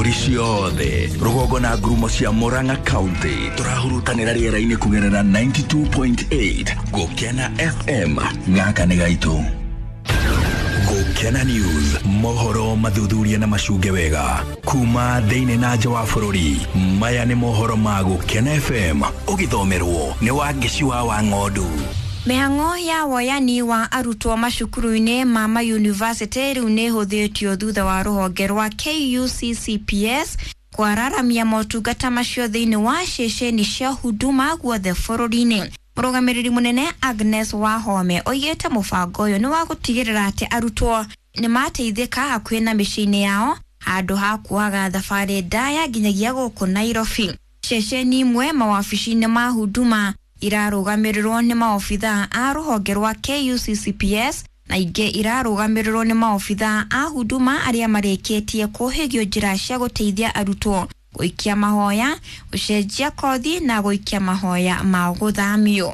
Mbũri ciothe rũgongo na ngurumo cia Murang'a County tũrahurutanĩra rĩera-inĩ kũgerera 92.8 Gũkena FM. Gaka nĩ gaitũ. Gũkena News, mohoro mathuthuria na macunge wega kuma thĩinĩ na nja wa bũrũri. Maya nĩ mohoro ma Gũkena FM, ũgĩthomerwo nĩ Wangeci wa Wang'ondu. Mĩhang'o ya woyani wa arutwo macukuru-inĩ ma mayunivasĩtĩ rĩu nĩ ĩhũthĩtio thutha wa rũhonge rwa KUCCPS kwararamia motungata macio thĩinĩ wa ceceni cia huduma guothe bũrũri-inĩ. Mũrũgamĩrĩri mũnene Agnes Wahome oigĩte mũbango ũyũ nĩ wa gũtigĩrĩra atĩ arutwo nĩ mateithĩka hakuhĩ na mĩciĩ-inĩ yao handũ ha kuohaga thabarĩ ndaya nginyagia gũkũ Nairobi. Ceceni imwe mawabici-inĩ ma huduma irarũgamĩrĩrwo nĩ maobithaa a rũhonge rwa KUCCPS na ingĩ irarũgamĩrĩrwo nĩ maobithaa a huduma arĩa marĩkĩtie kũhĩgio njĩra cia gũteithia arutwo gũikia mahoya, gũcenjia kothi na gũikia mahoya ma gũthamio.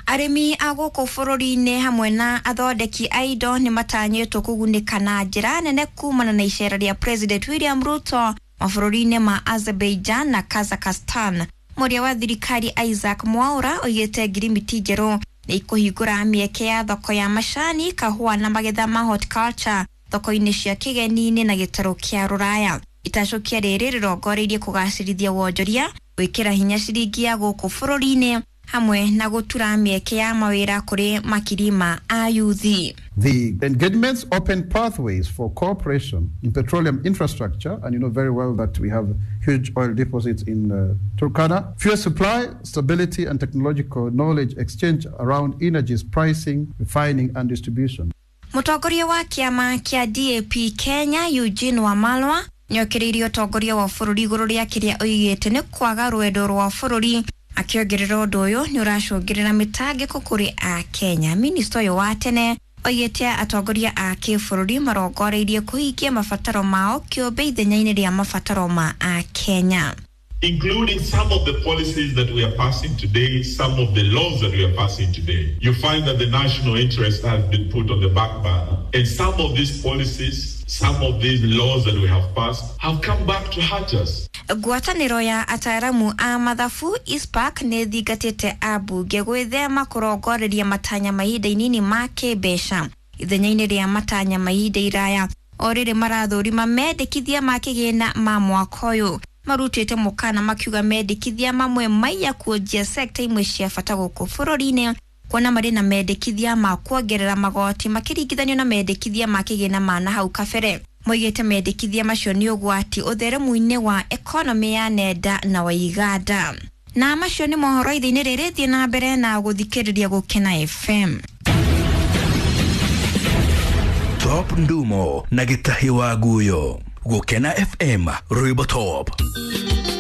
Arĩmi a gũkũ bũrũri-inĩ hamwe na athondeki a indo nĩ matanyĩtwo kũgunĩka na njĩra nene kumana na icera rĩa President William Ruto mabũrũri-inĩ ma Azerbaijan na Kazakhstan. Mũrĩa wa thirikari Isaac Mwaura oigĩte ngirimiti njerũ nĩ ikũhingũra mĩeke ya thoko ya macani, kahũa na magetha ma horticulture thoko-inĩ cia kĩgeni-inĩ na gĩtarũ kĩa rũraya. Itacũkia rĩrĩ rĩrongoreirie kũgacĩrithia wonjoria, gwĩkĩra hinya ciringi ya gũkũ bũrũri-inĩ hamwe na gũtura mĩeke ya mawĩra kũrĩ makiri ma ayuthi. The engagements open pathways for cooperation in petroleum infrastructure, and you know very well that we have huge oil deposits in Turkana. Fuel supply, stability, and technological knowledge exchange around energies pricing, refining, and distribution. Mũtongoria wa kĩama kĩa DAP Kenya Eugene Wamalwa nĩokĩrĩirie ũtongoria wa bũrũri igũrũ rĩa kĩrĩa oigĩte nĩ kwaga rwendo rwa bũrũri, akĩongerera ũndũ ũyũ nĩ ũracũngĩrĩra mĩtangĩko kũrĩ a Kenya. Minista ũyũ wa tene oigĩte atongoria a kĩbũrũri marongoreirie kũhingia mabataro mao kĩũmbe ithenya-inĩ rĩa mabataro ma a Kenya. Including some of the policies that we are passing today, some of the laws that we are passing today. You find that the national interest has been put on the back burner. And some of these policies, some of these laws that we have passed have come back to hurt us. Ngwatanĩro ya ataaramu a mathabu ISPAC nĩ thingatĩte ambunge gwĩthema kũrongoreria matanya ma ihinda inini ma kĩmbeca ithenya-inĩ rĩa matanya ma ihinda iraya o rĩrĩ marathũrima mendekithia ma kĩgĩna ma mwaka ũyũ. Marutĩte mũkana makiuga mendekithia mamwe maiya kuonjia sekta imwe cia bata gũkũ bũrũri-inĩ kuona marĩ na mendekithia ma kuongerera magoti makĩringithanio na mendekithia ma kĩgĩna ma na hau kabere. Moigĩte mendekithia macio nĩ ũgwati ũtheremu-inĩ wa ekonomi ya nenda na wa iganda. Na macio nĩ mohoro ithe-inĩ rĩrĩ, thiĩ na mbere na gũthikĩrĩria Gũkena FM. Top Ndumo na Gĩtahi wa Guyo. Gũkena FM, rwĩmbo top.